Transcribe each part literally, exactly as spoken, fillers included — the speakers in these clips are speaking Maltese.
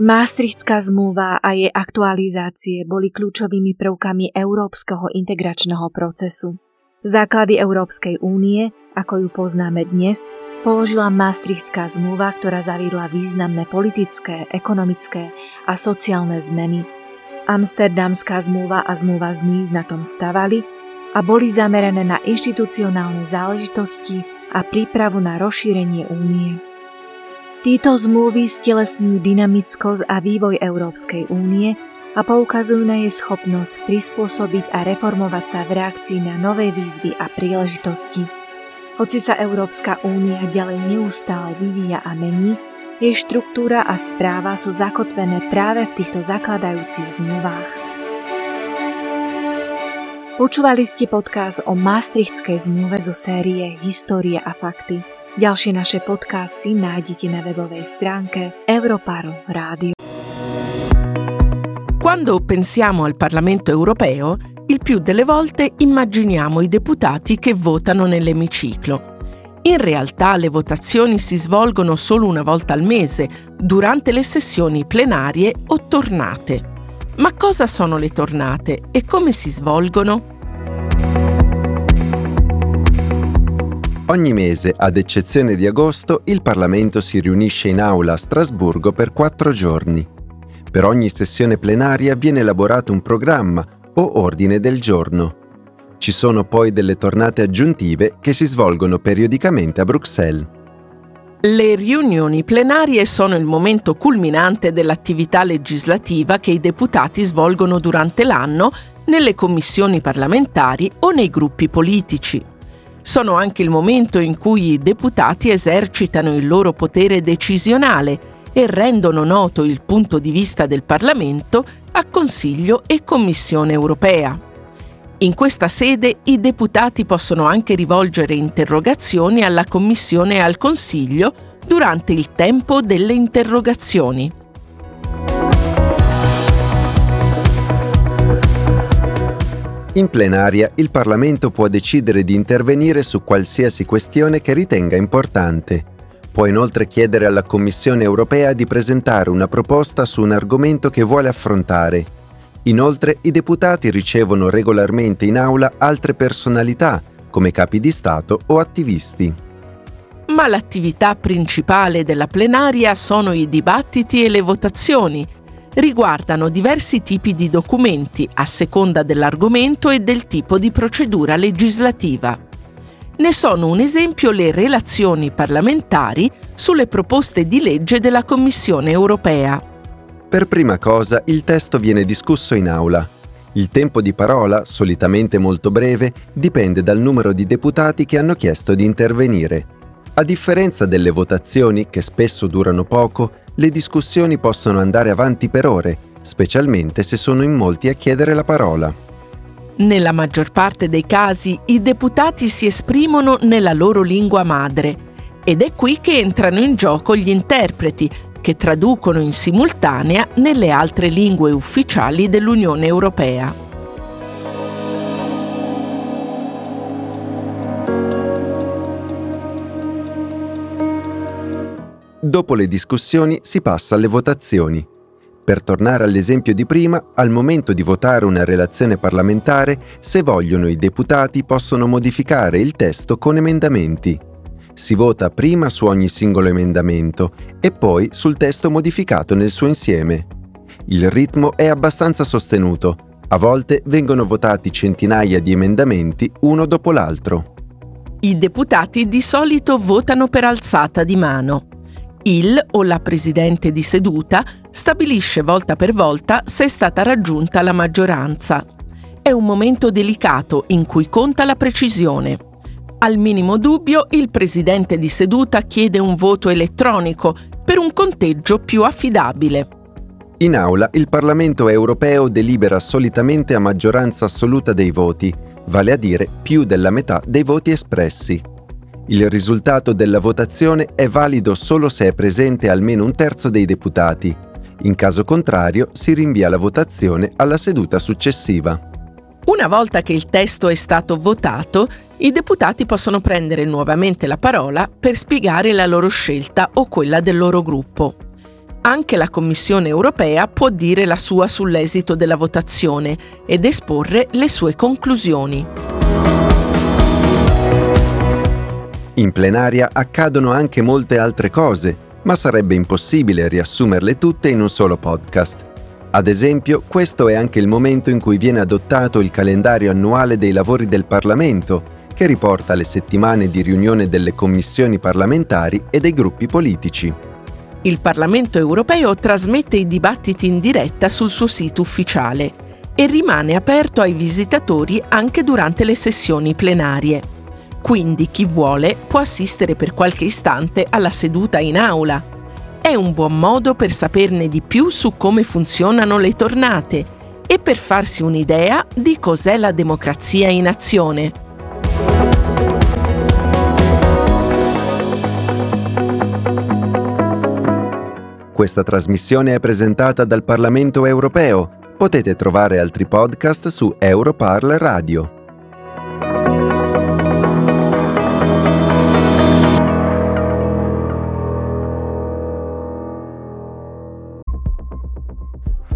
Maastrichtská zmluva a jej aktualizácie boli kľúčovými prvkami európskeho integračného procesu. Základy Európskej únie, ako ju poznáme dnes, položila Maastrichtská zmluva, ktorá zaviedla významné politické, ekonomické a sociálne zmeny. Amsterdamská zmluva a zmluva z Nice na tom stavali a boli zamerané na inštitucionálne záležitosti a prípravu na rozšírenie únie. Títo zmluvy stelesňujú dynamickosť a vývoj Európskej únie a poukazujú na jej schopnosť prispôsobiť a reformovať sa v reakcii na nové výzvy a príležitosti. Hoci sa Európska únia ďalej neustále vyvíja a mení, jej štruktúra a správa sú zakotvené práve v týchto zakladajúcich zmluvách. Počúvali ste podcast o Maastrichtskej zmluve zo série Histórie a fakty. Ďalšie naše podcasty nájdete na webovej stránke Europarl Rádio. Quando pensiamo al Parlamento europeo, il più delle volte immaginiamo i deputati che votano nell'emiciclo. In realtà le votazioni si svolgono solo una volta al mese, durante le sessioni plenarie o tornate. Ma cosa sono le tornate e come si svolgono? Ogni mese, ad eccezione di agosto, il Parlamento si riunisce in aula a Strasburgo per quattro giorni. Per ogni sessione plenaria viene elaborato un programma o ordine del giorno. Ci sono poi delle tornate aggiuntive che si svolgono periodicamente a Bruxelles. Le riunioni plenarie sono il momento culminante dell'attività legislativa che i deputati svolgono durante l'anno nelle commissioni parlamentari o nei gruppi politici. Sono anche il momento in cui i deputati esercitano il loro potere decisionale e rendono noto il punto di vista del Parlamento a Consiglio e Commissione europea. In questa sede i deputati possono anche rivolgere interrogazioni alla Commissione e al Consiglio durante il tempo delle interrogazioni. In plenaria il Parlamento può decidere di intervenire su qualsiasi questione che ritenga importante. Può inoltre chiedere alla Commissione europea di presentare una proposta su un argomento che vuole affrontare. Inoltre, i deputati ricevono regolarmente in aula altre personalità, come capi di Stato o attivisti. Ma l'attività principale della plenaria sono i dibattiti e le votazioni. Riguardano diversi tipi di documenti a seconda dell'argomento e del tipo di procedura legislativa. Ne sono un esempio le relazioni parlamentari sulle proposte di legge della Commissione europea. Per prima cosa, il testo viene discusso in aula. Il tempo di parola, solitamente molto breve, dipende dal numero di deputati che hanno chiesto di intervenire. A differenza delle votazioni, che spesso durano poco, le discussioni possono andare avanti per ore, specialmente se sono in molti a chiedere la parola. Nella maggior parte dei casi i deputati si esprimono nella loro lingua madre ed è qui che entrano in gioco gli interpreti, che traducono in simultanea nelle altre lingue ufficiali dell'Unione Europea. Dopo le discussioni si passa alle votazioni. Per tornare all'esempio di prima, al momento di votare una relazione parlamentare, se vogliono i deputati possono modificare il testo con emendamenti. Si vota prima su ogni singolo emendamento e poi sul testo modificato nel suo insieme. Il ritmo è abbastanza sostenuto. A volte vengono votati centinaia di emendamenti uno dopo l'altro. I deputati di solito votano per alzata di mano. Il o la presidente di seduta stabilisce volta per volta se è stata raggiunta la maggioranza. È un momento delicato in cui conta la precisione. Al minimo dubbio, il presidente di seduta chiede un voto elettronico per un conteggio più affidabile. In aula il Parlamento europeo delibera solitamente a maggioranza assoluta dei voti, vale a dire più della metà dei voti espressi. Il risultato della votazione è valido solo se è presente almeno un terzo dei deputati. In caso contrario, si rinvia la votazione alla seduta successiva. Una volta che il testo è stato votato, i deputati possono prendere nuovamente la parola per spiegare la loro scelta o quella del loro gruppo. Anche la Commissione europea può dire la sua sull'esito della votazione ed esporre le sue conclusioni. In plenaria accadono anche molte altre cose, ma sarebbe impossibile riassumerle tutte in un solo podcast. Ad esempio, questo è anche il momento in cui viene adottato il calendario annuale dei lavori del Parlamento, che riporta le settimane di riunione delle commissioni parlamentari e dei gruppi politici. Il Parlamento europeo trasmette i dibattiti in diretta sul suo sito ufficiale e rimane aperto ai visitatori anche durante le sessioni plenarie. Quindi chi vuole può assistere per qualche istante alla seduta in aula. È un buon modo per saperne di più su come funzionano le tornate e per farsi un'idea di cos'è la democrazia in azione. Questa trasmissione è presentata dal Parlamento europeo. Potete trovare altri podcast su Europarl Radio.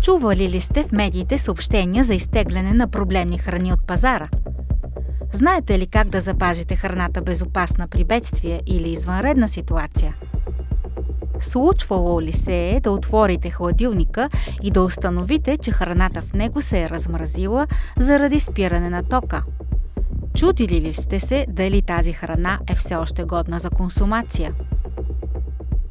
Чували ли сте в медиите съобщения за изтегляне на проблемни храни от пазара? Знаете ли как да запазите храната безопасна при бедствие или извънредна ситуация? Случвало ли се е да отворите хладилника и да установите, че храната в него се е размразила заради спиране на тока? Чудили ли сте се дали тази храна е все още годна за консумация?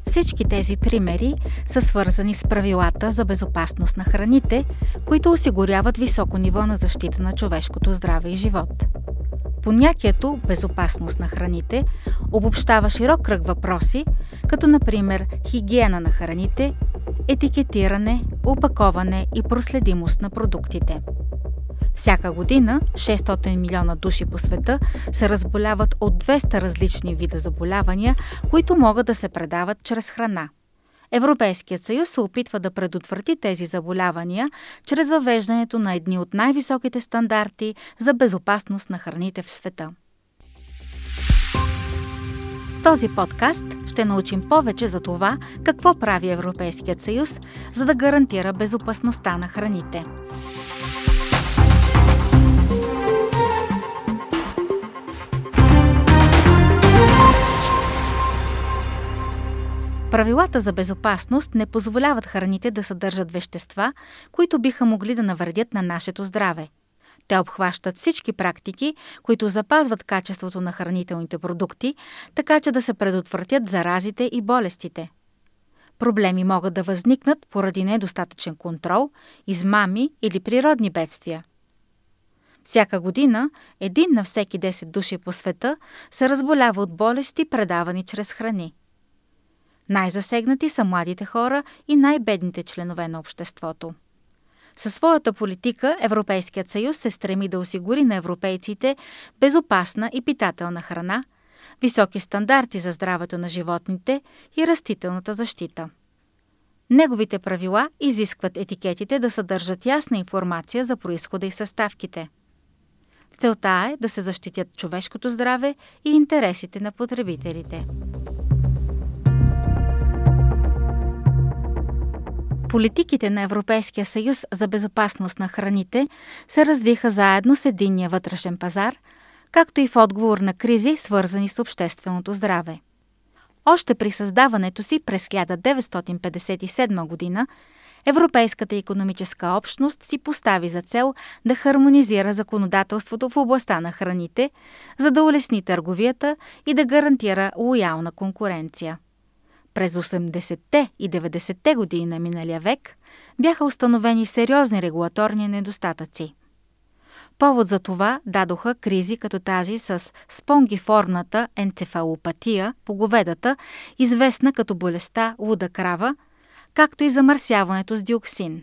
Всички тези примери са свързани с правилата за безопасност на храните, които осигуряват високо ниво на защита на човешкото здраве и живот. Понятието безопасност на храните обобщава широк кръг въпроси, като например хигиена на храните, етикетиране, опаковане и проследимост на продуктите. Всяка година шестстотин милиона души по света се разболяват от двеста различни вида заболявания, които могат да се предават чрез храна. Европейският съюз се опитва да предотврати тези заболявания чрез въвеждането на едни от най-високите стандарти за безопасност на храните в света. В този подкаст ще научим повече за това какво прави Европейският съюз, за да гарантира безопасността на храните. Правилата за безопасност не позволяват храните да съдържат вещества, които биха могли да навредят на нашето здраве. Те обхващат всички практики, които запазват качеството на хранителните продукти, така че да се предотвратят заразите и болестите. Проблеми могат да възникнат поради недостатъчен контрол, измами или природни бедствия. Всяка година един на всеки десет души по света се разболява от болести, предавани чрез храни. Най-засегнати са младите хора и най-бедните членове на обществото. Със своята политика Европейският съюз се стреми да осигури на европейците безопасна и питателна храна, високи стандарти за здравето на животните и растителната защита. Неговите правила изискват етикетите да съдържат ясна информация за произхода и съставките. Целта е да се защитят човешкото здраве и интересите на потребителите. Политиките на Европейския съюз за безопасност на храните се развиха заедно с единния вътрешен пазар, както и в отговор на кризи, свързани с общественото здраве. Още при създаването си през хиляда деветстотин петдесет и седма година Европейската икономическа общност си постави за цел да хармонизира законодателството в областта на храните, за да улесни търговията и да гарантира лоялна конкуренция. През осемдесетте и деветдесетте години на миналия век бяха установени сериозни регулаторни недостатъци. Повод за това дадоха кризи като тази с спонгиформната енцефалопатия по говедата, известна като болестта луда крава, както и замърсяването с диоксин.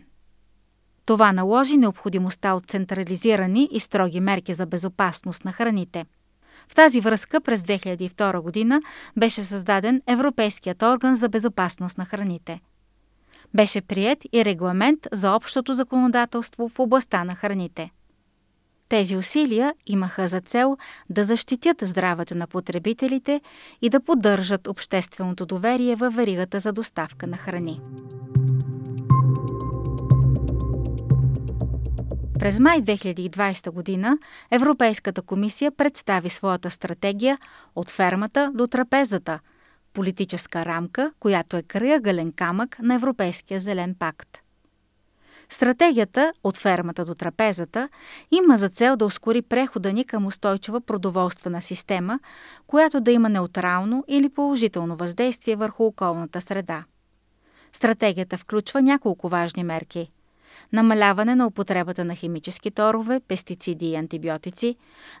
Това наложи необходимостта от централизирани и строги мерки за безопасност на храните. В тази връзка през две хиляди и втора година беше създаден Европейският орган за безопасност на храните. Беше приет и регламент за общото законодателство в областта на храните. Тези усилия имаха за цел да защитят здравето на потребителите и да поддържат общественото доверие във веригата за доставка на храни. През май две хиляди и двадесета година Европейската комисия представи своята стратегия „От фермата до трапезата“ – политическа рамка, която е крайъгълен камък на Европейския зелен пакт. Стратегията „От фермата до трапезата“ има за цел да ускори прехода ни към устойчива продоволствена система, която да има неутрално или положително въздействие върху околната среда. Стратегията включва няколко важни мерки: намаляване на употребата на химически торове, пестициди и антибиотици,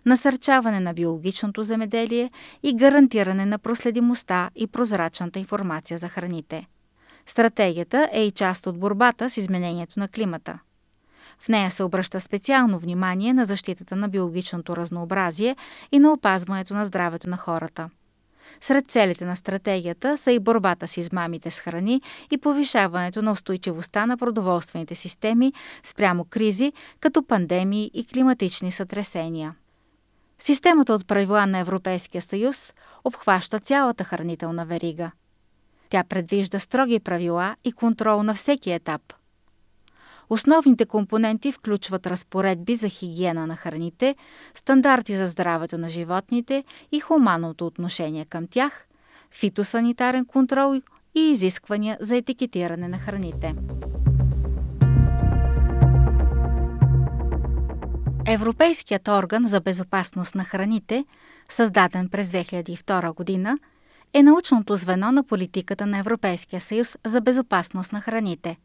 насърчаване на биологичното земеделие и гарантиране на проследимостта и прозрачната информация за храните. Стратегията е и част от борбата с изменението на климата. В нея се обръща специално внимание на защитата на биологичното разнообразие и на опазването на здравето на хората. Сред целите на стратегията са и борбата с измамите с храни и повишаването на устойчивостта на продоволствените системи спрямо кризи, като пандемии и климатични сътресения. Системата от правила на Европейския съюз обхваща цялата хранителна верига. Тя предвижда строги правила и контрол на всеки етап. Основните компоненти включват разпоредби за хигиена на храните, стандарти за здравето на животните и хуманното отношение към тях, фитосанитарен контрол и изисквания за етикетиране на храните. Европейският орган за безопасност на храните, създаден през две хиляди и втора година, е научното звено на политиката на Европейския съюз за безопасност на храните.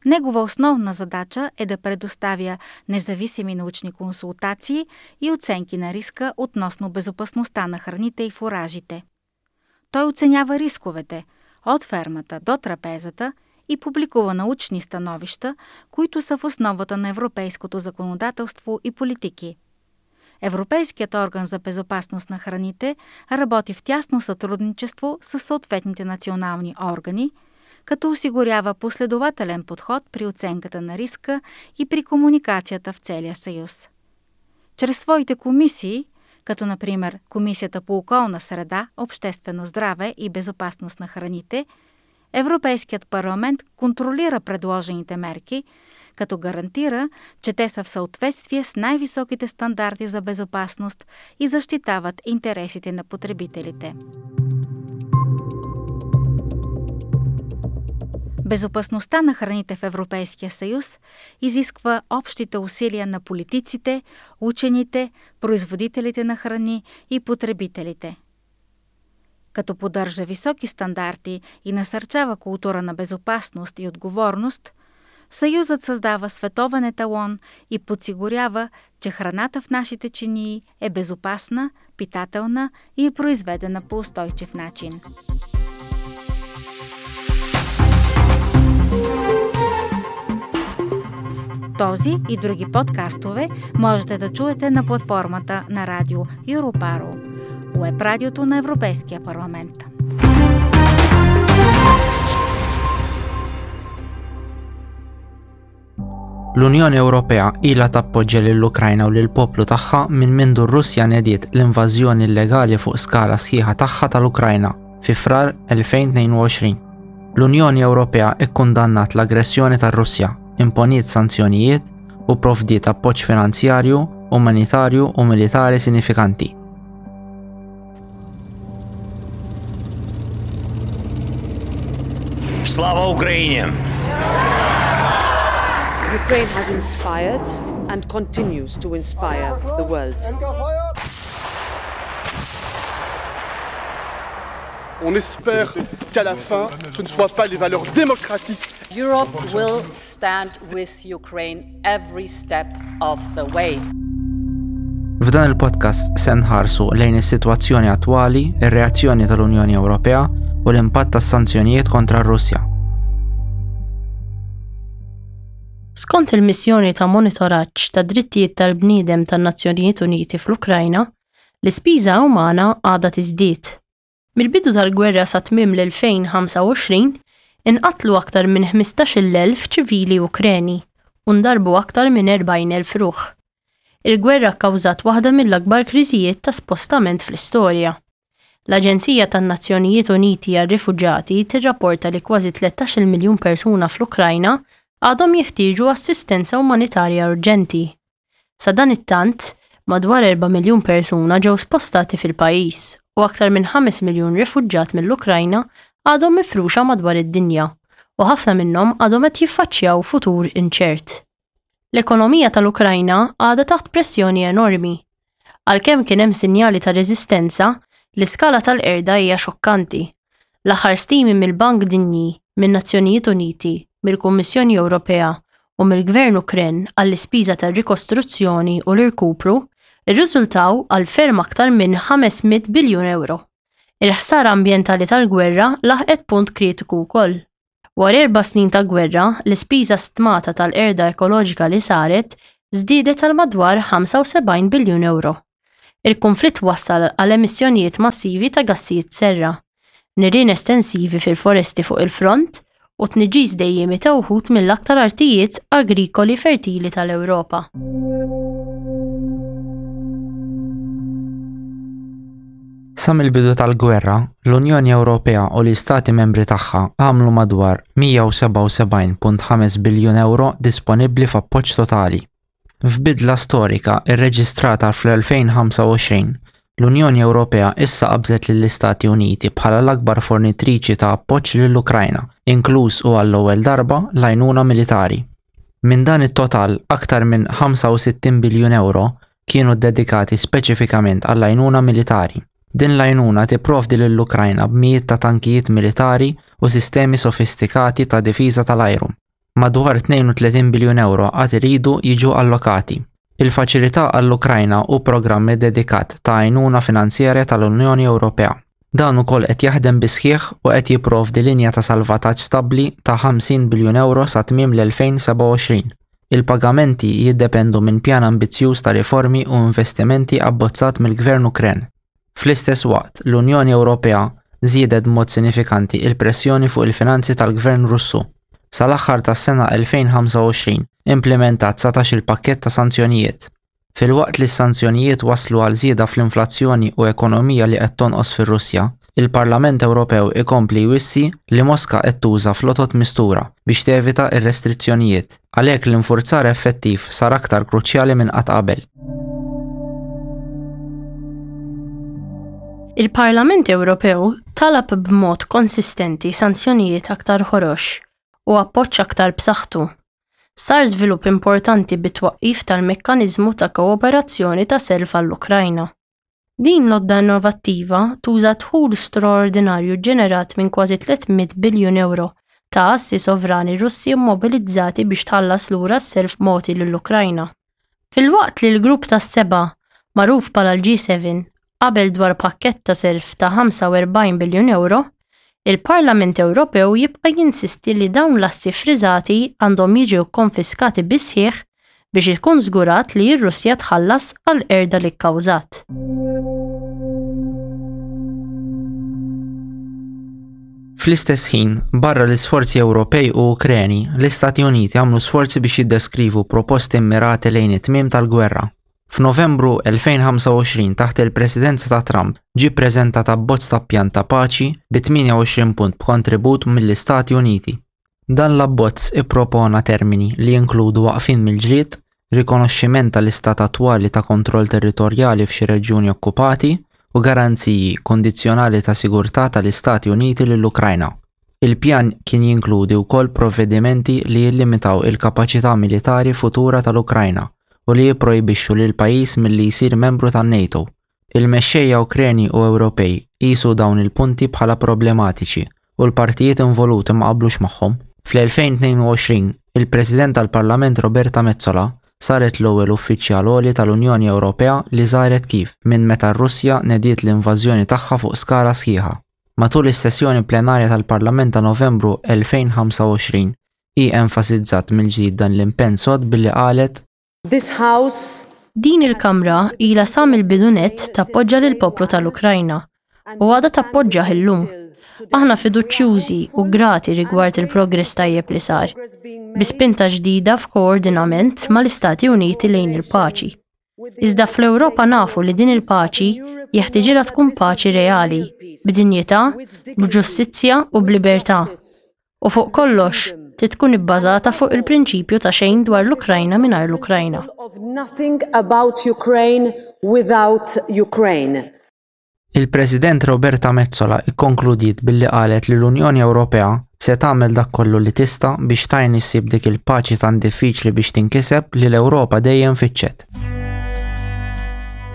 Негова основна задача е да предоставя независими научни консултации и оценки на риска относно безопасността на храните и фуражите. Той оценява рисковете от фермата до трапезата и публикува научни становища, които са в основата на европейското законодателство и политики. Европейският орган за безопасност на храните работи в тясно сътрудничество с съответните национални органи, като осигурява последователен подход при оценката на риска и при комуникацията в целия съюз. Чрез своите комисии, като например Комисията по околна среда, обществено здраве и безопасност на храните, Европейският парламент контролира предложените мерки, като гарантира, че те са в съответствие с най-високите стандарти за безопасност и защитават интересите на потребителите. Безопасността на храните в Европейския съюз изисква общите усилия на политиците, учените, производителите на храни и потребителите. Като поддържа високи стандарти и насърчава култура на безопасност и отговорност, Съюзът създава световен еталон и подсигурява, че храната в нашите чинии е безопасна, питателна и е произведена по устойчив начин. Този и други подкастове можете да чуете на платформата на радио Europarl, уеб радиото на Европейския парламент. L-Unjoni Ewropea ilha tappoġġja lill-Ukrajna u lill-poplu tagħha minn mindu r-Russja nediet l-invażjoni illegali fuq skala sħiħa tagħha tal-Ukrajna fi Frar elfejn tnejn u għoxrin. L-Unjoni Ewropea ikkundannat l-aggressjoni tar-Russja, imponiet sanzjonijiet u provdiet appoġġ finanzjarju, umanitarju u militari sinifikanti. Slava Ukraini! Ukraine has inspired and continues to inspire the world. On espère qu'à la fin, ce ne soient pas les valeurs démocratiques. Europe will stand with Ukraine every step of the way. F'dan il-podcast se nħarsu lejn is-sitwazzjoni attwali, ir-reazzjoni tal-Unjoni Ewropea u l-impatt tas-sanzjonijiet kontra r-Russja. Skont il-missjoni ta' monitoraġġ ta' drittijiet tal-bniedem tan-Nazzjonijiet Uniti fl-Ukrajna, l-ispiża umana għadha tiżdied. Mill-bidu tal-gwerra sa tmiem l-elfejn ħamsa u għoxrin, inqatlu aktar minn ħmistax-il elf ċivili Ukreni u ndarbu aktar minn erbgħin elf ruħ. Il-gwerra kkawżat waħda mill-akbar kriżijiet ta' spostament fl-istorja. L-Aġenzija tan-Nazzjonijiet Uniti għar-Rifuġati tirrapporta li kważi tlettax-il miljun persuna fl-Ukrajna għadhom jeħtieġu assistenza umanitarja urġenti. Sadanittant, madwar erba' miljun persuna ġew spostati fil-pajjiż u aktar minn ħames miljun rifuġġat mill-Ukrajna għadhom mifruxa madwar id-dinja u ħafna minnhom għadhom qed jiffaċċjaw futur inċert. L-ekonomija tal-Ukrajna għadha taħt pressjoni enormi. Għalkemm kien hemm sinjali ta' reżistenza, l-iskala tal-qerda hija xokkanti. L-aħħar stimi mill-Bank Dinji, min-Nazzjonijiet Uniti, mill-Kummissjoni Ewropea u mill-Gvern Ukren għall-ispiża tar-rikostruzzjoni u l-irkupru rriżultaw għal ferm aktar minn ħames mitt biljun ewro. Il-ħsara ambjentali tal-gwerra laħqet punt kritiku wkoll. Wara erba' snin ta' gwerra, l-ispiża stmata tal-qerda ekoloġika li saret żdiedet għal madwar ħamsa u sebgħin biljun ewro. Il-konflitt wassal għal emissjonijiet massivi ta' gassijiet serra, nirien estensivi fil-foresti fuq il-front u tniġġis dejjiemi ta' wħud mill-aktar artijiet agrikoli fertili tal-Ewropa. Sa mill-bidu tal-gwerra, l-Unjoni Ewropea u l-Istati membri tagħha għamlu madwar mija u sebgħa u sebgħin punt ħames biljun euro disponibbli f'appoġġ totali. F'bidla storika rreġistrata fl-elfejn ħamsa u għoxrin, l-Unjoni Ewropea issa qabżet lill-Istati Uniti bħala l-akbar fornitriċi ta' appoġġ lill-Ukrajna, inkluż u għall-ewwel darba l-għajnuna militari. Minn dan it-total, aktar minn ħamsa u sittin biljun euro kienu ddedikati speċifikament għall-għajnuna militari. Din l-għajnuna tipprovdi lill-Ukrajna b'mijiet ta' tankijiet militari u sistemi sofistikati ta' difiża tal-ajru. Madwar tnejn u tletin biljun euro għad iridu jiġu allokati. Il-faċilità għall-Ukrajna hu programm dedikat ta' għajnuna finanzjarja tal-Unjoni Ewropea. Dan ukoll qed jaħdem bisħieħ u qed jipprovdi linja ta' salvataġġ stabbli ta' ħamsin biljun euro sa tmiem l-elfejn seba' u għoxrin. Il-pagamenti jiddependu minn pjan ambizzjuż ta' riformi u investimenti abbozzat mill-Gvern Ukren. Fl-istess waqt, l-Unjoni Ewropea żiedet b'mod sinifikanti il-pressjoni fuq il-finanzi tal-Gvern Russu. Sal-aħħar tas-sena elfejn ħamsa u għoxrin implementat satax il-pakkett ta' sanzjonijiet. Filwaqt li s-sanzjonijiet waslu għal żieda fl-inflazzjoni u ekonomija li qed tonqos fir-Russja, il-Parlament Ewropew ikompli jwissi li Moska qed tuża flotot mistura biex tevita r-restrizzjonijiet. Għalhekk l-infurzar effettiv sar aktar kruċjali minn qatt qabel. Il-Parlament Ewropew talab b'mod konsistenti sanzjonijiet aktar ħorox u appoġġ aktar b'saħħtu. Sar żvilupp importanti bit-twaqqif tal-mekkaniżmu ta' kooperazzjoni ta' self għall-Ukrajna. Din l-għodda innovattiva tuża dħul straordinarju ġenerat minn kważi tliet mitt biljun euro ta' assi sovrani Russi immobilizzati biex tħallas lura s-self mogħti lill-Ukrajna. Filwaqt li l-grupp tas-seba', magħruf bħala l-G seven, qabel dwar pakkett ta' self ta' ħamsa u erbgħin biljun euro, il-Parlament Ewropew jibqa' jinsisti li dawn l-assi friżati għandhom jiġu konfiskati bisħieħ biex ikun żgurat li r-Russja tħallas għal qerda li kkawżat. Fl-istess ħin, barra l-isforzi Ewropej u Ukreni, l-Istati Uniti għamlu sforzi biex jiddeskrivu proposti mmirati lejn it-tmiem tal-gwerra. F'Novembru elfejn ħamsa u għoxrin taħt il-presidenza ta' Trump ġie ppreżentat abbozz ta' pjan ta' paċi bi tmienja u għoxrin punt b'kontribut mill-Istati Uniti. Dan l-abbozz ippropona termini li jinkludu waqfien mill-ġlied, rikonoxximent tal-istat attwali ta' kontroll territorjali f'xi reġjuni okkupati u garanziji kondizzjonali ta' sigurtà tal-Istati Uniti lill-Ukrajna. Il-pjan kien jinkludi wkoll provvedimenti li jillimitaw il-kapaċità militari futura tal-Ukrajna u li jipprojbixxu lil pajjiż milli jsir membru tan-NATO. Il-mexxejja Ukreni u Ewropej qisu dawn il-punti bħala problematiċi u l-partijiet involuti ma qablux magħhom. Fl-elfejn tnejn u għoxrin, il-President tal-Parlament Roberta Metsola saret l-ewwel uffiċjal għoli tal-Unjoni Ewropea li żaret Kiev minn meta r-Russja nediet l-invażjoni tagħha fuq skala sħiħa. Matul is-sessjoni plenarja tal-Parlament ta' Novembru elfejn ħamsa u għoxrin, hi enfasizzat mill-ġdid dan l-impenn sod billi qalet: This house Din il-Kamra ilha sa mill-bidu nett tappoġġa lill-poplu tal-Ukrajna u għadha tappoġġah illum. Aħna fiduċjużi u grati rigward il-progress tajjeb li sar, bi spinta ġdida f'koordinament mal-Istati Uniti lejn il-paċi. Iżda fl-Ewropa nafu li din il-paċi jeħtieġilha tkun paċi reali, b'dinjità, b'ġustizzja u b'libertà. U fuq kollox, trid tkun ibbażata fuq il-prinċipju ta' xejn dwar l-Ukrajna mingħajr l-Ukrajna. Of nothing about Ukraine without Ukraine. Il-President Roberta Metsola ikkonkludiet billi qalet li l-Unjoni Ewropea se tagħmel dak kollu li tista' biex tgħin issib dik il-paċi tant diffiċli biex tinkiseb li l-Ewropa dejjem fittxet.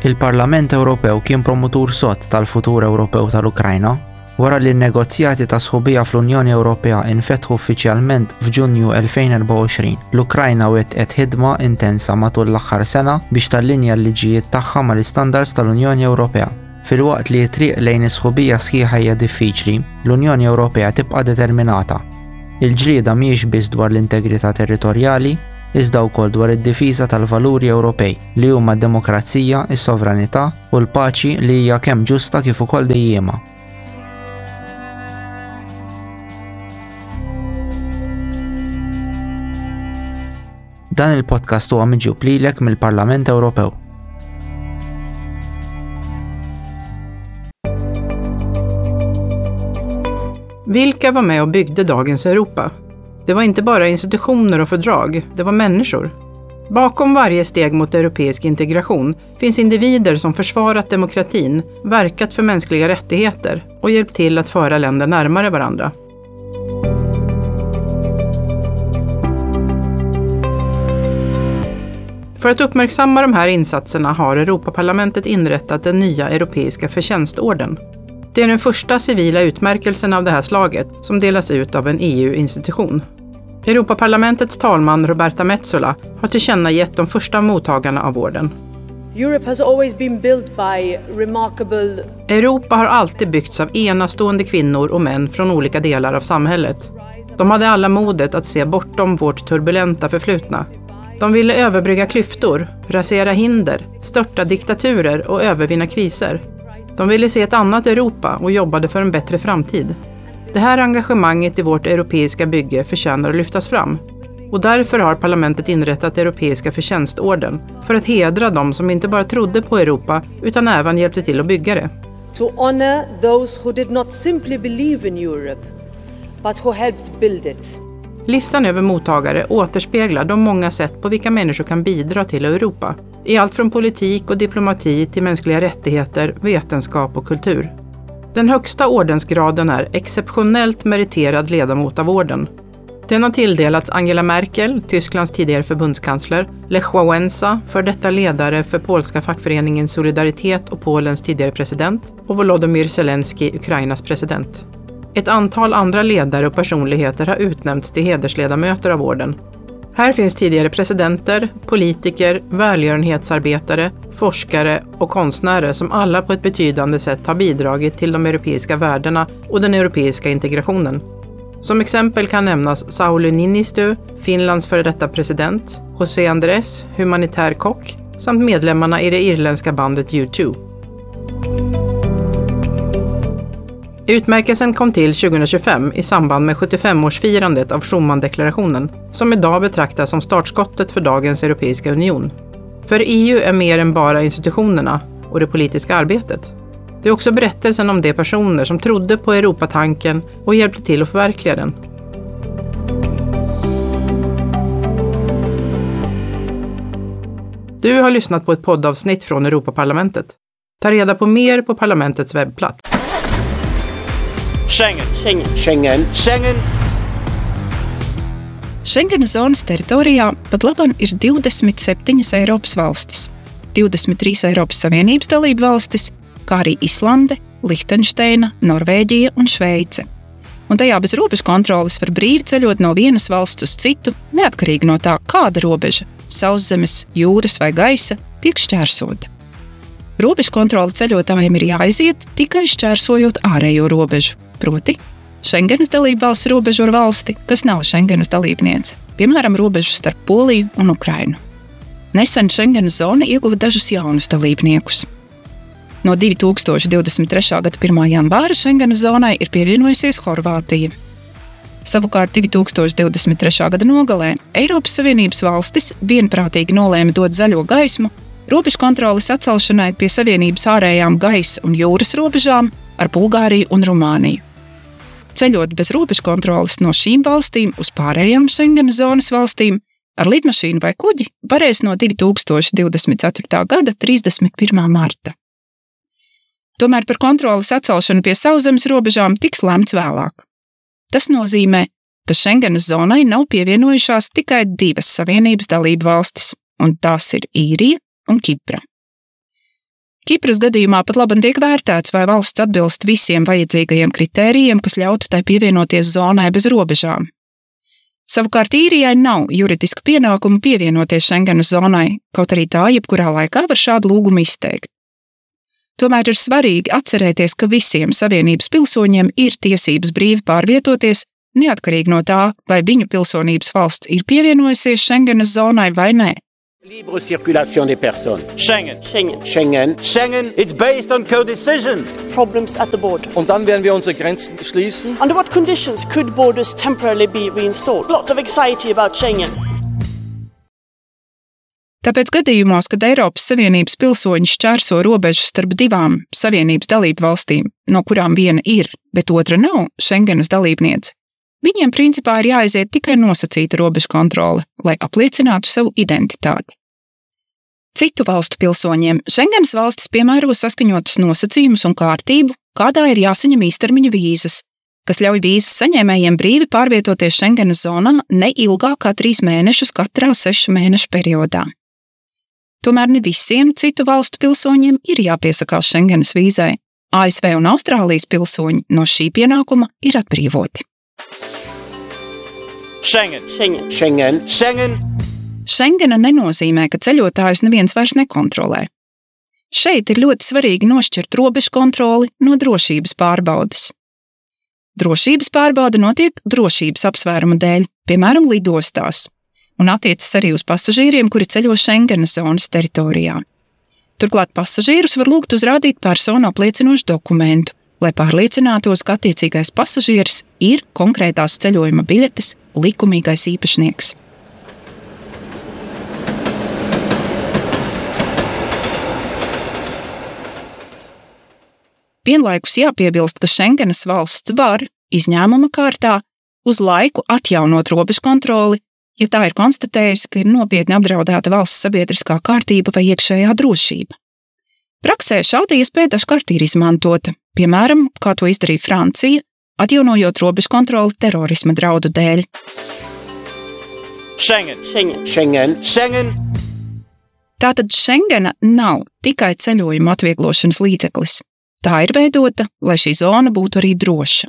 Il-Parlament Ewropew kien promotur sod tal-futur Ewropew tal-Ukrajna wara li n-negozjati ta' sħubija fl-Unjoni Ewropea infetħu uffiċjalment f'Ġunju elfejn u erbgħa u għoxrin. L-Ukrajna wettqet ħidma intensa matul l-aħħar sena biex tallinja l-liġijiet tagħha mal-istandards tal-Unjoni Ewropea. Filwaqt li t-triq lejn is-sħubija sħiħa hija diffiċli, l-Unjoni Ewropea tibqa' determinata. Il-ġlieda mhijiex biss dwar l-integrità territorjali, iżda wkoll dwar id-difiża tal-valuri Ewropej li huma d-demokrazija, is-sovranità u l-paċi li hija kemm ġusta kif ukoll dejjiema. Dan il-podcast huwa miġjub lilek mill-Parlament Ewropew. Vilka var med och byggde dagens Europa? Det var inte bara institutioner och fördrag, det var människor. Bakom varje steg mot europeisk integration finns individer som försvarat demokratin, verkat för mänskliga rättigheter och hjälpt till att föra länder närmare varandra. För att uppmärksamma de här insatserna har Europaparlamentet inrättat den nya europeiska förtjänstorden. Det är den första civila utmärkelsen av det här slaget som delas ut av en E U-institution. Europaparlamentets talman Roberta Metsola har tillkännagett de första mottagarna av orden. Europe has always been built by remarkable Europa har alltid byggts av enastående kvinnor och män från olika delar av samhället. De hade alla modet att se bortom vårt turbulenta förflutna. De ville överbrygga klyftor, rasera hinder, störta diktaturer och övervinna kriser. De ville se ett annat Europa och jobbade för en bättre framtid. Det här engagemanget i vårt europeiska bygge förtjänar att lyftas fram. Och därför har parlamentet inrättat Europeiska förtjänstorden för att hedra de som inte bara trodde på Europa utan även hjälpte till att bygga det. To honor those who did not simply believe in Europe, but who helped build it. Listan över mottagare återspeglar de många sätt på vilka människor kan bidra till Europa. I allt från politik och diplomati till mänskliga rättigheter, vetenskap och kultur. Den högsta ordensgraden är exceptionellt meriterad ledamot av orden. Den har tilldelats Angela Merkel, Tysklands tidigare förbundskansler, Lech Wałęsa, för detta ledare för polska fackföreningen Solidaritet och Polens tidigare president, och Volodymyr Zelensky, Ukrainas president. Ett antal andra ledare och personligheter har utnämnts till hedersledamöter av orden. Här finns tidigare presidenter, politiker, välgörenhetsarbetare, forskare och konstnärer som alla på ett betydande sätt har bidragit till de europeiska värdena och den europeiska integrationen. Som exempel kan nämnas Sauli Niinistö, Finlands före detta president, José Andrés, humanitär kock, samt medlemmarna i det irländska bandet U två. Utmärkelsen kom till tjugohundratjugofem i samband med sjuttiofemårsfirandet av Schuman-deklarationen, som idag betraktas som startskottet för dagens Europeiska union. För E U är mer än bara institutionerna och det politiska arbetet. Det är också berättelsen om de personer som trodde på Europatanken och hjälpte till att förverkliga den. Du har lyssnat på ett poddavsnitt från Europaparlamentet. Ta reda på mer på parlamentets webbplats. Schengen. Schengen. Schengen. Schengen. Schengenas zonas teritorijā pat laban ir divdesmit septiņas Eiropas valstis, divdesmit trīs Eiropas Savienības dalību valstis, kā arī Islande, Lihtenšteina, Norvēģija un Šveice. Un tajā bez robežu kontroles var brīvi ceļot no vienas valsts uz citu, neatkarīgi no tā, kāda robeža – sauszemes, jūras vai gaisa – tiek šķērsota. Robežu kontrole ceļotājiem ir jāiziet tikai šķērsojot ārējo robežu, proti Schengenas dalību valsts robežu ar valsti, kas nav Schengenas dalībniece, piemēram, robežu starp Poliju un Ukrainu. Nesen Schengenas zona ieguva dažus jaunus dalībniekus. No divtūkstoš divdesmit trešā gada pirmā janvāra Schengenas zonai ir pievienojusies Horvātija. Savukārt divtūkstoš divdesmit trešā gada nogalē Eiropas Savienības valstis vienprātīgi nolēma dot zaļo gaismu robežu kontroles atcelšanai pie Savienības ārējām gaisa un jūras robežām ar Bulgāriju un Rumāniju. Ceļot bez robežu kontroles no šīm valstīm uz pārējām Schengenas zonas valstīm ar lidmašīnu vai kuģi varēs no divtūkstoš divdesmit ceturtā gada trīsdesmit pirmā marta. Tomēr par kontroles atcelšanu pie sauszemes robežām tiks lemts vēlāk. Tas nozīmē, ka Schengenas zonai nav pievienojušās tikai divas Savienības dalību valstis, un tās ir Īrija un Kipra. Kipras gadījumā patlaban tiek vērtēts, vai valsts atbilst visiem vajadzīgajiem kritērijiem, kas ļautu tai pievienoties zonai bez robežām. Savukārt Īrijai nav juridiska pienākuma pievienoties Schengenas zonai, kaut arī tā jebkurā laikā var šādu lūgumu izteikt. Tomēr ir svarīgi atcerēties, ka visiem Savienības pilsoņiem ir tiesības brīvi pārvietoties, neatkarīgi no tā, vai viņu pilsonības valsts ir pievienojusies Schengenas zonai vai nē. Libre circulation des personnes. Schengen. Schengen. Schengen. Schengen. It's based on co-decision. Problems at the border. Und dann werden wir unsere Grenzen schließen. Under what conditions could borders temporarily be reinstalled? A lot of anxiety about Schengen. Tāpēc gadījumos, kad Eiropas Savienības pilsoņi šķērso robežu starp divām Savienības dalību valstīm, no kurām viena ir, bet otra nav Schengenas dalībniece, viņiem principā ir jāaiziet tikai nosacīta robežu kontrole, lai apliecinātu savu identitāti. Citu valstu pilsoņiem Schengenas valstis piemēro saskaņotus nosacījumus un kārtību, kādā ir jāsaņem īstermiņa vīzas, kas ļauj vīzas saņēmējiem brīvi pārvietoties Schengenas zonā ne ilgāk kā trīs mēnešus katrā sešu mēnešu periodā. Tomēr ne visiem citu valstu pilsoņiem ir jāpiesakās Schengenas vīzai. A S V un Austrālijas pilsoņi no šī pienākuma ir atbrīvoti. Schengen. Schengen. Schengen. Schengen. Schengena nenozīmē, ka ceļotājus neviens vairs nekontrolē. Šeit ir ļoti svarīgi nošķirt robežu kontroli no drošības pārbaudes. Drošības pārbaude notiek drošības apsvērumu dēļ, piemēram, lidostās, un attiecas arī uz pasažieriem, kuri ceļo Schengenas zonas teritorijā. Turklāt pasažierus var lūgt uzrādīt personu apliecinošu dokumentu, lai pārliecinātos, ka attiecīgais pasažieris ir konkrētās ceļojuma biļetes likumīgais īpašnieks. Vienlaikus jāpiebilst, ka Schengenas valsts var, izņēmuma kārtā, uz laiku atjaunot robežu kontroli, ja tā ir konstatējusi, ka ir nopietni apdraudēta valsts sabiedriskā kārtība vai iekšējā drošība. Praksē šāda iespēja dažkārt ir izmantota, piemēram, kā to izdarīja Francija, atjaunojot robežu kontroli terorisma draudu dēļ. Schengen. Schengen. Schengen. Schengen. Tātad Schengena nav tikai ceļojuma atvieglošanas līdzeklis. Tā ir veidota, lai šī zona būtu arī droša.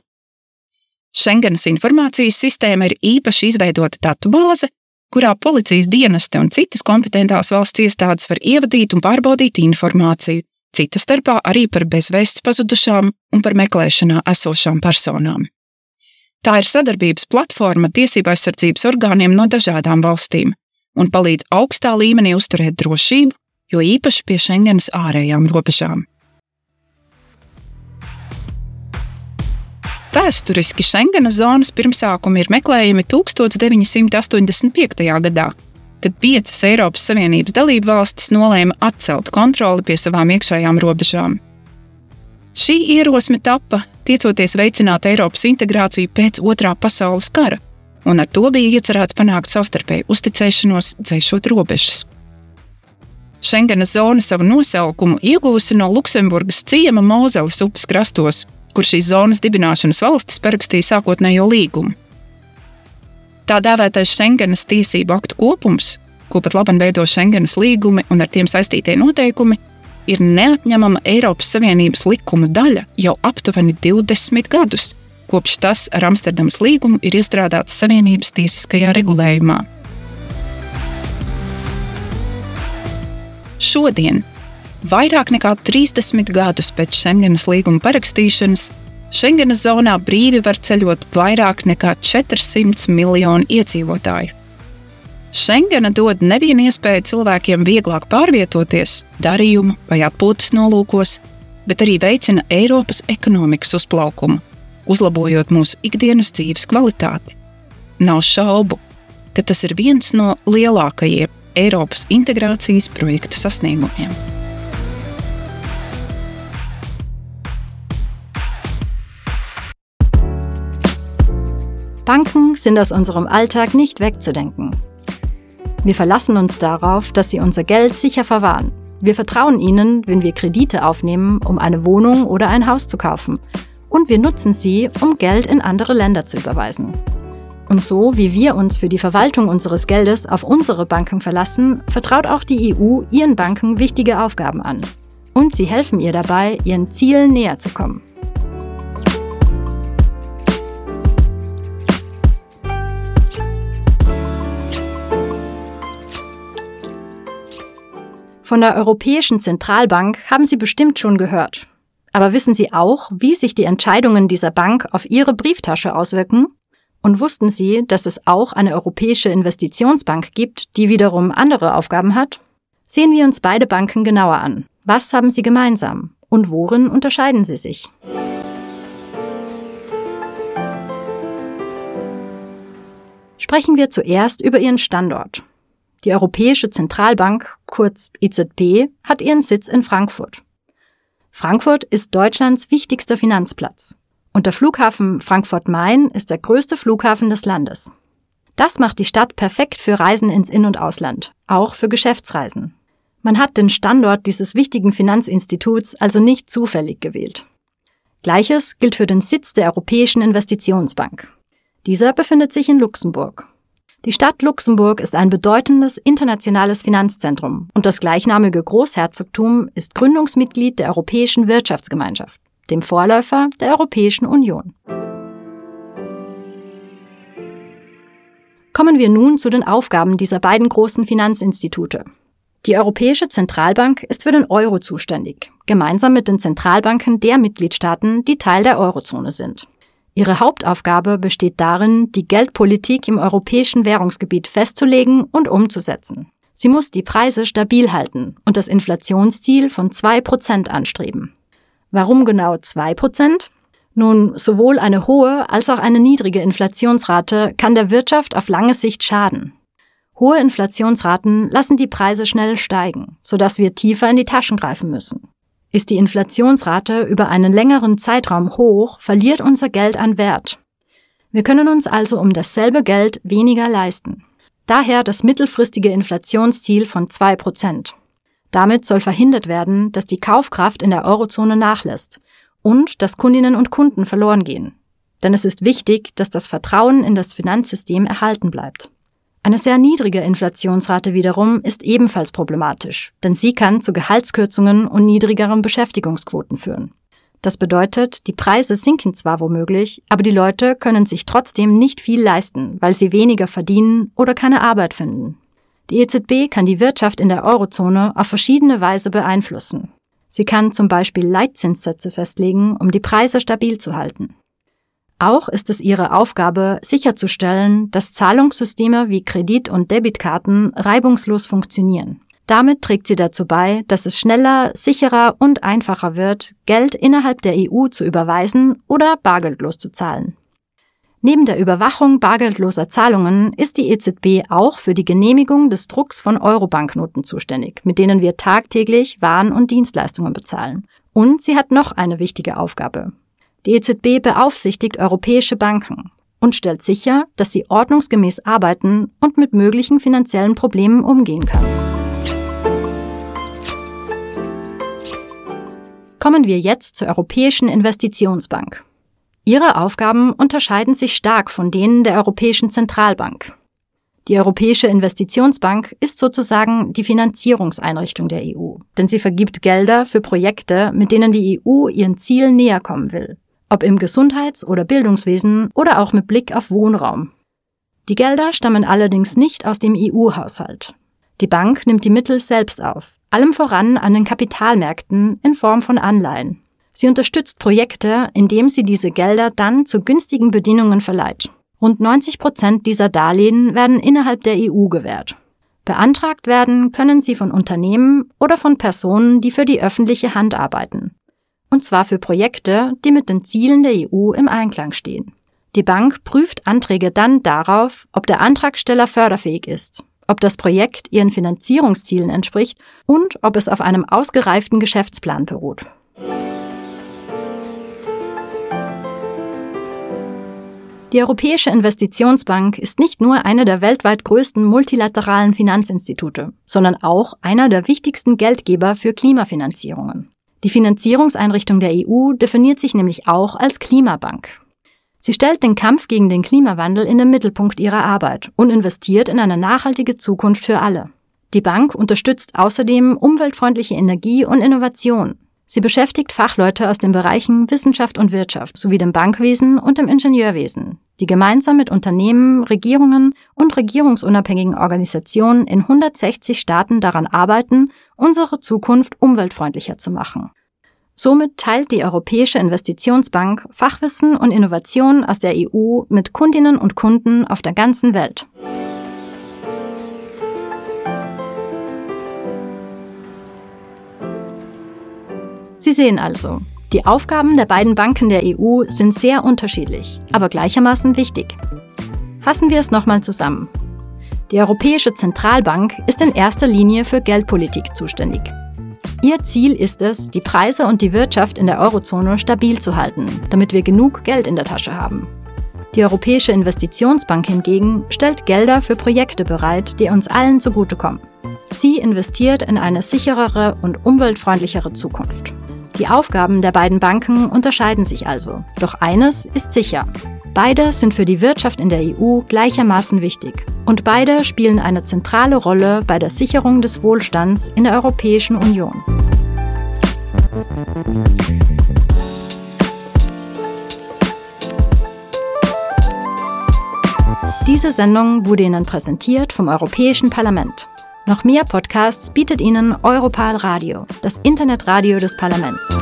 Schengenas informācijas sistēma ir īpaši izveidota datubāze, kurā policijas dienesti un citas kompetentās valsts iestādes var ievadīt un pārbaudīt informāciju, cita starpā arī par bezvēsts pazudušām un par meklēšanā esošām personām. Tā ir sadarbības platforma tiesību aizsardzības orgāniem no dažādām valstīm un palīdz augstā līmenī uzturēt drošību, jo īpaši pie Schengenas ārējām robežām. Vēsturiski Schengenas zonas pirmsākumi ir meklējami tūkstoš deviņsimt astoņdesmit piektajā gadā, kad piecas Eiropas Savienības dalību valstis nolēma atcelt kontroli pie savām iekšējām robežām. Šī ierosme tapa, tiecoties veicināt Eiropas integrāciju pēc Otrā pasaules kara, un ar to bija iecerēts panākt savstarpēju uzticēšanos, dzēšot robežas. Schengenas zona savu nosaukumu ieguvusi no Luksemburgas ciema Mozeles upes krastos, kur šīs zonas dibināšanas valstis parakstīja sākotnējo līgumu. Tā dēvētais Schengenas tiesību aktu kopums, ko patlaban veido Schengenas līgumi un ar tiem saistītie noteikumi, ir neatņemama Eiropas Savienības likumu daļa jau aptuveni divdesmit gadus, kopš tas ar Amsterdamas līgumu ir iestrādāts Savienības tiesiskajā regulējumā. Šodien, vairāk nekā trīsdesmit gadus pēc Schengenas līguma parakstīšanas, Schengenas zonā brīvi var ceļot vairāk nekā četrsimt miljoni iedzīvotāju. Schengena dod nevienu iespēju cilvēkiem vieglāk pārvietoties darījumu vai atpūtas nolūkos, bet arī veicina Eiropas ekonomikas uzplaukumu, uzlabojot mūsu ikdienas dzīves kvalitāti. Nav šaubu, ka tas ir viens no lielākajiem Eiropas integrācijas projekta sasniegumiem. Banken sind aus unserem Alltag nicht wegzudenken. Wir verlassen uns darauf, dass sie unser Geld sicher verwahren. Wir vertrauen ihnen, wenn wir Kredite aufnehmen, um eine Wohnung oder ein Haus zu kaufen. Und wir nutzen sie, um Geld in andere Länder zu überweisen. Und so, wie wir uns für die Verwaltung unseres Geldes auf unsere Banken verlassen, vertraut auch die E U ihren Banken wichtige Aufgaben an. Und sie helfen ihr dabei, ihren Zielen näher zu kommen. Von der Europäischen Zentralbank haben Sie bestimmt schon gehört. Aber wissen Sie auch, wie sich die Entscheidungen dieser Bank auf Ihre Brieftasche auswirken? Und wussten Sie, dass es auch eine Europäische Investitionsbank gibt, die wiederum andere Aufgaben hat? Sehen wir uns beide Banken genauer an. Was haben sie gemeinsam? Und worin unterscheiden sie sich? Sprechen wir zuerst über ihren Standort. Die Europäische Zentralbank, kurz E Z B, hat ihren Sitz in Frankfurt. Frankfurt ist Deutschlands wichtigster Finanzplatz. Und der Flughafen Frankfurt-Main ist der größte Flughafen des Landes. Das macht die Stadt perfekt für Reisen ins In- und Ausland, auch für Geschäftsreisen. Man hat den Standort dieses wichtigen Finanzinstituts also nicht zufällig gewählt. Gleiches gilt für den Sitz der Europäischen Investitionsbank. Dieser befindet sich in Luxemburg. Die Stadt Luxemburg ist ein bedeutendes internationales Finanzzentrum und das gleichnamige Großherzogtum ist Gründungsmitglied der Europäischen Wirtschaftsgemeinschaft, dem Vorläufer der Europäischen Union. Kommen wir nun zu den Aufgaben dieser beiden großen Finanzinstitute. Die Europäische Zentralbank ist für den Euro zuständig, gemeinsam mit den Zentralbanken der Mitgliedstaaten, die Teil der Eurozone sind. Ihre Hauptaufgabe besteht darin, die Geldpolitik im europäischen Währungsgebiet festzulegen und umzusetzen. Sie muss die Preise stabil halten und das Inflationsziel von zwei Prozent anstreben. Warum genau zwei Prozent? Nun, sowohl eine hohe als auch eine niedrige Inflationsrate kann der Wirtschaft auf lange Sicht schaden. Hohe Inflationsraten lassen die Preise schnell steigen, sodass wir tiefer in die Taschen greifen müssen. Ist die Inflationsrate über einen längeren Zeitraum hoch, verliert unser Geld an Wert. Wir können uns also um dasselbe Geld weniger leisten. Daher das mittelfristige Inflationsziel von zwei Prozent. Damit soll verhindert werden, dass die Kaufkraft in der Eurozone nachlässt und dass Kundinnen und Kunden verloren gehen. Denn es ist wichtig, dass das Vertrauen in das Finanzsystem erhalten bleibt. Eine sehr niedrige Inflationsrate wiederum ist ebenfalls problematisch, denn sie kann zu Gehaltskürzungen und niedrigeren Beschäftigungsquoten führen. Das bedeutet, die Preise sinken zwar womöglich, aber die Leute können sich trotzdem nicht viel leisten, weil sie weniger verdienen oder keine Arbeit finden. Die E Z B kann die Wirtschaft in der Eurozone auf verschiedene Weise beeinflussen. Sie kann zum Beispiel Leitzinssätze festlegen, um die Preise stabil zu halten. Auch ist es ihre Aufgabe, sicherzustellen, dass Zahlungssysteme wie Kredit- und Debitkarten reibungslos funktionieren. Damit trägt sie dazu bei, dass es schneller, sicherer und einfacher wird, Geld innerhalb der E U zu überweisen oder bargeldlos zu zahlen. Neben der Überwachung bargeldloser Zahlungen ist die E Z B auch für die Genehmigung des Drucks von Euro-Banknoten zuständig, mit denen wir tagtäglich Waren und Dienstleistungen bezahlen. Und sie hat noch eine wichtige Aufgabe. Die E Z B beaufsichtigt europäische Banken und stellt sicher, dass sie ordnungsgemäß arbeiten und mit möglichen finanziellen Problemen umgehen können. Kommen wir jetzt zur Europäischen Investitionsbank. Ihre Aufgaben unterscheiden sich stark von denen der Europäischen Zentralbank. Die Europäische Investitionsbank ist sozusagen die Finanzierungseinrichtung der E U, denn sie vergibt Gelder für Projekte, mit denen die E U ihren Zielen näher kommen will, ob im Gesundheits- oder Bildungswesen oder auch mit Blick auf Wohnraum. Die Gelder stammen allerdings nicht aus dem E U-Haushalt. Die Bank nimmt die Mittel selbst auf, allem voran an den Kapitalmärkten in Form von Anleihen. Sie unterstützt Projekte, indem sie diese Gelder dann zu günstigen Bedingungen verleiht. Rund neunzig Prozent dieser Darlehen werden innerhalb der E U gewährt. Beantragt werden können sie von Unternehmen oder von Personen, die für die öffentliche Hand arbeiten. Und zwar für Projekte, die mit den Zielen der E U im Einklang stehen. Die Bank prüft Anträge dann darauf, ob der Antragsteller förderfähig ist, ob das Projekt ihren Finanzierungszielen entspricht und ob es auf einem ausgereiften Geschäftsplan beruht. Die Europäische Investitionsbank ist nicht nur eine der weltweit größten multilateralen Finanzinstitute, sondern auch einer der wichtigsten Geldgeber für Klimafinanzierungen. Die Finanzierungseinrichtung der E U definiert sich nämlich auch als Klimabank. Sie stellt den Kampf gegen den Klimawandel in den Mittelpunkt ihrer Arbeit und investiert in eine nachhaltige Zukunft für alle. Die Bank unterstützt außerdem umweltfreundliche Energie und Innovation. Sie beschäftigt Fachleute aus den Bereichen Wissenschaft und Wirtschaft sowie dem Bankwesen und dem Ingenieurwesen, die gemeinsam mit Unternehmen, Regierungen und regierungsunabhängigen Organisationen in hundertsechzig Staaten daran arbeiten, unsere Zukunft umweltfreundlicher zu machen. Somit teilt die Europäische Investitionsbank Fachwissen und Innovationen aus der E U mit Kundinnen und Kunden auf der ganzen Welt. Sie sehen also, die Aufgaben der beiden Banken der E U sind sehr unterschiedlich, aber gleichermaßen wichtig. Fassen wir es nochmal zusammen. Die Europäische Zentralbank ist in erster Linie für Geldpolitik zuständig. Ihr Ziel ist es, die Preise und die Wirtschaft in der Eurozone stabil zu halten, damit wir genug Geld in der Tasche haben. Die Europäische Investitionsbank hingegen stellt Gelder für Projekte bereit, die uns allen zugutekommen. Sie investiert in eine sicherere und umweltfreundlichere Zukunft. Die Aufgaben der beiden Banken unterscheiden sich also. Doch eines ist sicher. Beide sind für die Wirtschaft in der E U gleichermaßen wichtig. Und beide spielen eine zentrale Rolle bei der Sicherung des Wohlstands in der Europäischen Union. Diese Sendung wurde Ihnen präsentiert vom Europäischen Parlament. Noch mehr Podcasts bietet Ihnen Europal Radio, das Internetradio des Parlaments.